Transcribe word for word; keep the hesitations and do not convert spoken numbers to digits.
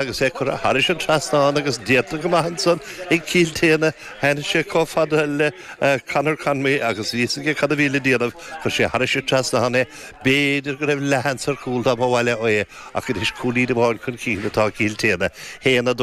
Agus é curtha thar an trasnán agus déanta go maith ansan ag Cill Téana. Tháinig sé chomh fada le Conor Conway agus bhí a fhios aige cad a bhí le déanamh. Chuir sé thar an trasnán é. B'fhéidir go raibh leathsheans ar chúl dá mba mhaith leo é, ach anois cúilín amháin chun cinn atá Cill Téana. Haon a dó.